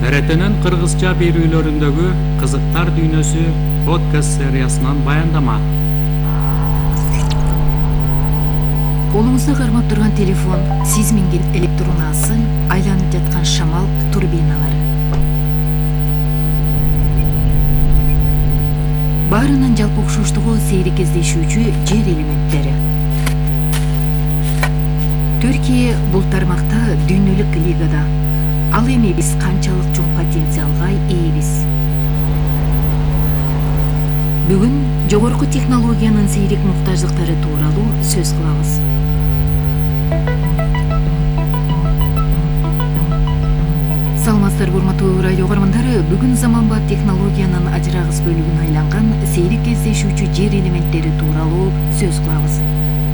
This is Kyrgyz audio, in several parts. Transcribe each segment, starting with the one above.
ТРТнын кыргызча берүүлөрүндөгү «Кызыктар дүйнөсү» подкаст сериясынан баяндама. Колуңузда кармап турган телефон, сиз минген электронасы, айланып жаткан шамал турбиналары. Баарынын жалпы окшоштугу сейрек кездешүүчү жер элементтери. Түркия бул тармакта дүйнөлүк лигада. Ал эми биз канчалык чоң потенциалга ээбиз? Бүгүн жогорку технологиянын сейрек муктаждыктары тууралуу сөз кылабыз. Саламатсыздар урматтуу радио көрөрмандары, бүгүн заманбап технологиянын ажырагыс бөлүгүнө айланган сейрек кездешүүчү жер элементтери тууралуу сөз кылабыз.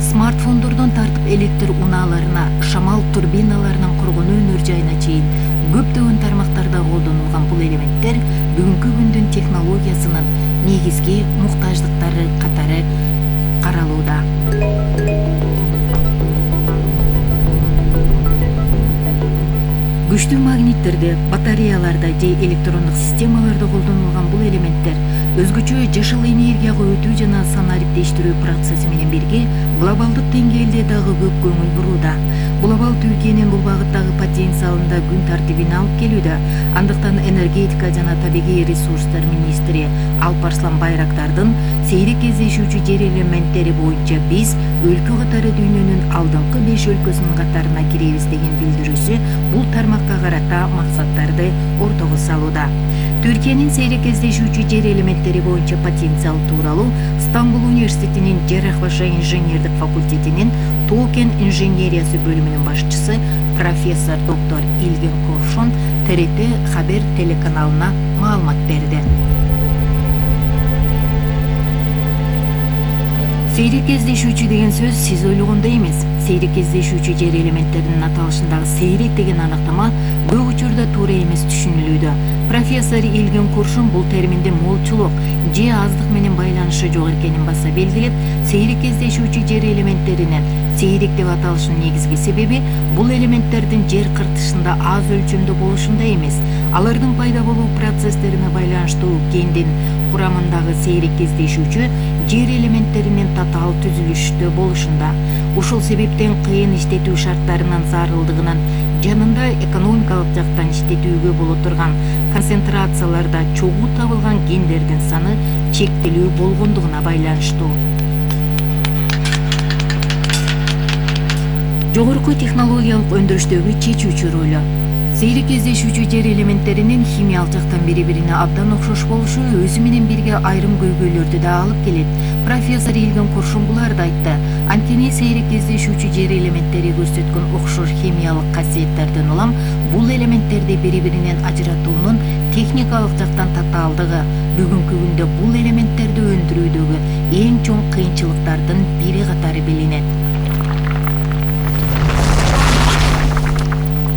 Смартфондордон тартып электр унааларына, шамал турбиналарынын кургону өнөр жайына чейин көптөгөн тармактарда колдонулган бул элементтер бүгүнкү күндүн технологиясынын негизги муктаждыктары катары каралууда. Күчтүү магниттерде, батареяларда же электрондук системаларда колдонулган бул элементтер өзгөчө жашыл энергияга өтүү жана санариптештирүү процесси менен бирге глобалдык деңгээлде дагы көп көңүл бурууда. Бул абал Түркиянын бул багыттагы потенциалында күн тартибине алып келүүдө. Андыктан энергетика жана табигый ресурстар министри Алпарслан Байрактардын сейрек кездешүүчү жер элементтери боюнча биз өлкө катары дүйнөнүн алдыңкы 5 өлкөсүнүн катарына киребиз деген билдирүүсү бул тармакка карата максаттарды ортого салууда. Түркиянын сейрек кездешүүчү жер элементтери боюнча потенциал тууралуу Стамбул университетинин Жарах баша инженердик факультетинин Токен инженериясы бөлүмүнүн башчысы профессор доктор Илген Куршун ТРТ Хабер телеканалына маалымат берди. Сейрек кездешүүчү деген сөз сиз ойлогондой эмес. Сейрек кездешүүчү жер элементтеринин аталышындагы сейрек деген аныктама көп учурда туура эмес түшүнүлүүдө. Профессор Илген Куршун бул терминде молчулук же аздык менен байланышы жок экенин баса белгилеп, сейрек кездешүүчү жер элементтеринин сейрек деп аталышынын негизги себеби бул элементтердин жер кыртышында аз өлчөмдө болушунда эмес, алардын пайда болуу процесстерине байланыштуу кендин курамындагы сейрек кездешүүчү жер элементтеринин татаал түзүлүштө болушунда. Ушул себептен кыйын иштетүү шарттарынын зарылдыгынын жанында экономикалык жактан иштетүүгө боло турган концентрацияларда чогуу табылган кендердин саны чектелүү болгондугуна байланыштуу. Жогорку технологиялык өндүрүштөгү чечүүчү ролу. Сейрек кездешүүчү жер элементтеринин химиялык жактан бири-бирине абдан окшош болушу өзү менен бирге айрым көйгөйлөрдү да алып келет. Профессор Илген Куршун буларды айтты. Анткени сейрек кездешүүчү жер элементтери көрсөткөн окшош химиялык касиеттерден улам бул элементтерди бири-биринен ажыратуунун техникалык жактан татаалдыгы бүгүнкү күндө бул элементтерди өндүрүүдөгү эң чоң кыйынчылыктардын бири катары билинет.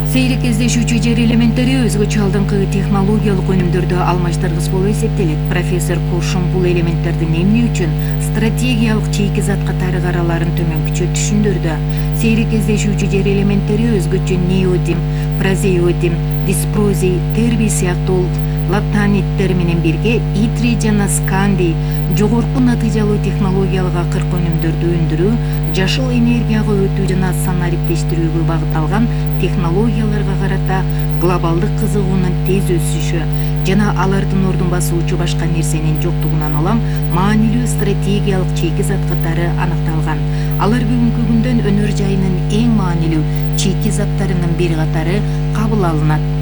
Сейрек кездешүүчү жер элементтери өзгөчө алдыңкы технологиялык өнүмдөрдө алмаштыргыс болуп эсептелет. Профессор Куршун бул элементтердин эмне үчүн стратегиялык чийки зат катары караларын төмөнкүчө түшүндүрдү. Сейрек кездешүүчү жер элементтери өзгөчө неодим, прозеодим, диспрозий, тербий сыяктуу латаниттер менен бирге итрий жана скандий жогорку натыйжалуу технологиялык акыркы өнүмдөрдү өндүрүү, жашыл энергияга өтүү жана санариптештирүүгө багытталган технологияларга карата глобалдык кызыгуунун тез өсүшү жана алардын ордун басуучу башка нерсенин жоктугунан улам маанилүү стратегиялык чийки зат катары аныкталган. Алар бүгүнкү күндөн өнөр жайынын эң маанилүү чийки заттарынын бири катары кабыл алынат.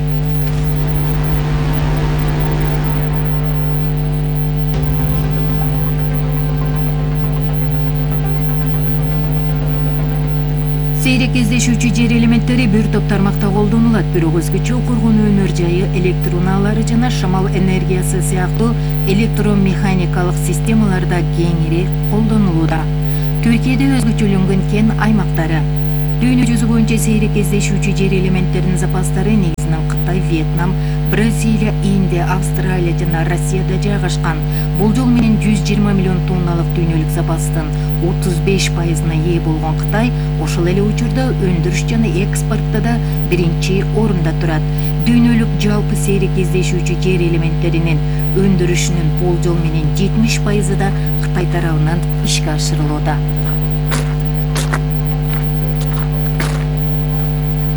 Сейрек кездешүүчү жер элементтери бир топ тармакта колдонулат, бирок өзгөчө коргонуу өнөр жайы, электр унаалары жана шамал энергиясы сыяктуу электромеханикалык системаларда кеңири колдонулууда. Түркияда өзгөчөлөнгөн кен аймактары. Дүйнө жүзү боюнча сейрек кездешүүчү жер элементтеринин запастары негизинен Кытай, Вьетнам, Бразилия, Индия, Австралия жана Россияда жайгашкан. Болжол менен 120 миллион тонналык дүйнөлүк запастын 35%-на ээ болгон Кытай ошол эле учурда өндүрүш жана экспортто да биринчи орунда турат. дүйнөлүк жалпы сейрек кездешүүчү жер элементтеринин өндүрүшүнүн болжол менен 70% да Кытай тарабынан ишке ашырылууда.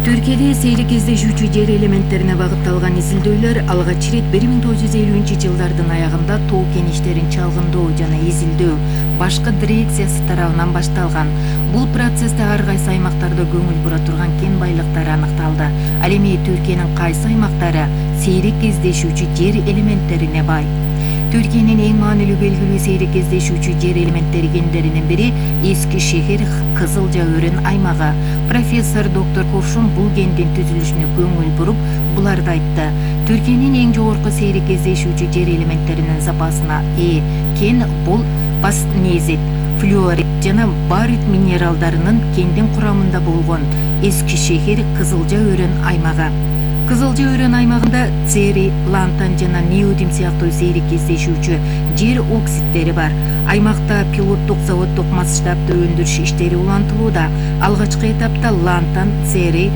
Түркияда сейрек кездешүүчү жер элементтерине багытталган изилдөөлөр алгач ирет 1950-жылдардын аягында тоо кеништерин чалгындоо жана изилдөө башкы дирекциясы тарабынан башталган. Бул процессте ар кайсы аймактарда көңүл бура турган кен байлыктары аныкталды. Ал эми Түркиянын кайсы аймактары сейрек кездешүүчү жер элементтерине бай? Түркиянын эң маанилүү белгилүү сейрек кездешүүчү жер элементтери кендеринин бири Эски шехер Кызылжа өрөн аймагы. Профессор доктор Ковшун бул кендин түзүлүшүнө көңүл буруп, буларды айтты. Түркиянын эң жогорку сейрек кездешүүчү жер элементтеринин запасына ээ кен бул паснезит, флюорит жана барит минералдарынын кендин курамында болгон Эски шехер Кызылжа өрөн аймагы. Кызылжа өрөн аймагында церий, лантан жана неодим сыяктуу сейрек кездешүүчү жер оксидтери бар. Аймакта пилоттук заводдук масштабдуу өндүрүш иштери улантылууда. Алгачкы этапта лантан, церий,